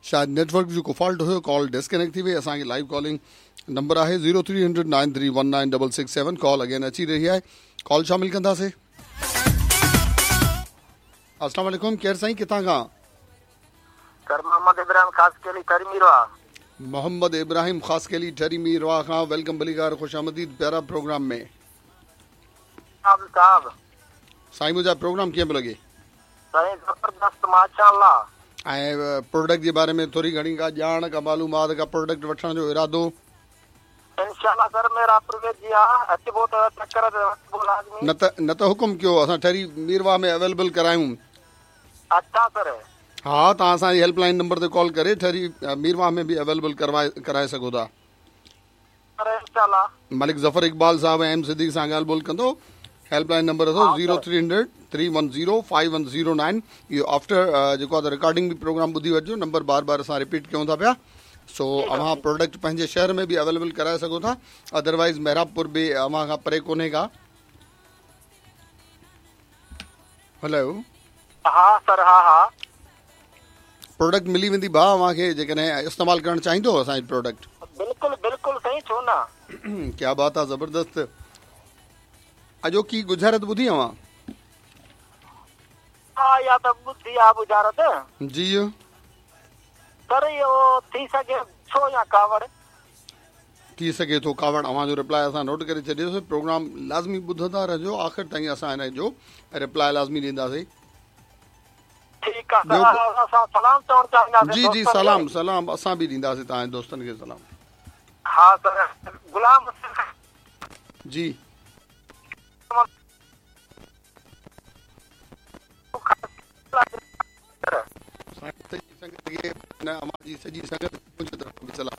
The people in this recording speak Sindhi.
شايد نيٽورڪ جو ڪو فالٽ هيو ڪال ڊسڪنيڪٽ ٿي وئي اسان کي لائيو ڪالنگ نمبر آهي zero three hundred nine three one nine double six seven call again اچي رهي آهي ڪال شامل ڪنداسي. السلام عليڪم ڪير سائين ڪٿان کان؟ سر محمد ابراهيم خاصخيلي ٺري ميرواهه. محمد ابراهيم خاصخيلي ٺري ميرواهه کان welcome ڀليڪار خوش آمديد پيارا پروگرام ۾. صاحب. سائين منهنجا پروگرام ڪيئن پيو لڳي؟ سائين زبردست ماشاء الله. ۽ پروڊڪٽ جي باري ۾ ٿوري گهڻي ڪا ڄاڻ ڪا معلومات ڪا پروڊڪٽ وٺڻ جو ارادو. انشاء الله سر محرابپور ويجهي آ اچبو ته چڪر تي وٺبو لازمي. نه ته نه ته حڪم ڪيو اسان ٺري ميرواهه ۾ اويليبل ڪرايون. اڇا سر. ها توهان اسان جي هيلپ لائين نمبر تي ڪال ڪري ٺري ميرواهه ۾ به اويليبل ڪروائي ڪرائي سگهو ٿا. سر انشاء الله. ملڪ ظفر اقبال صاحب ۽ ايم صديق سان ڳالهه ٻولهه ڪندو. هيلپ لائين نمبر اٿو zero three hundred three one zero five one zero nine اهو آفٽر جيڪو آهي ته رڪارڊنگ به پروگرام ٻڌي وٺجو نمبر بار بار اسان رپيٽ ڪيون ٿا پيا سو اوهان پروڊڪٽ پنهنجي شهر ۾ به اويليبل ڪرائي سگهو ٿا ادروائز محرابپور به اوهان کان پري ڪونهي ڪا هلو ها سر ها ها پروڊڪٽ ملي ويندي ڀاء اوهان کي جيڪڏهن استعمال ڪرڻ چاهيندو اسان جي پروڊڪٽ. بلڪل بلڪل سائين ڇو نه. ڪيا بات آ زبردست اڄوڪي ڳجهارت ٻڌي اوهان. ها اها ته ٻڌي آ ڳجهارت. جي. سر اهو ٿي سگهي ٿو يا ڪاوڙ. ٿي سگهي ٿو ڪاوڙ اوهان جو رپلاء اسان نوٽ ڪري ڇڏيوسي پروگرام لازمي ٻڌندا رهجو آخر تائين اسان هن جو رپلاء لازمي ڏينداسي. ٺيڪ آ سر اسان سلام چوڻ چاهينداسين جي جي سلام سلام اسان به ڏينداسين توهان جي دوستن کي سلام. ها سر غلام حسين جي. سائين سڄي سنگت کي اوهان جي سڄي سنگت کي منهنجي طرفان به سلام.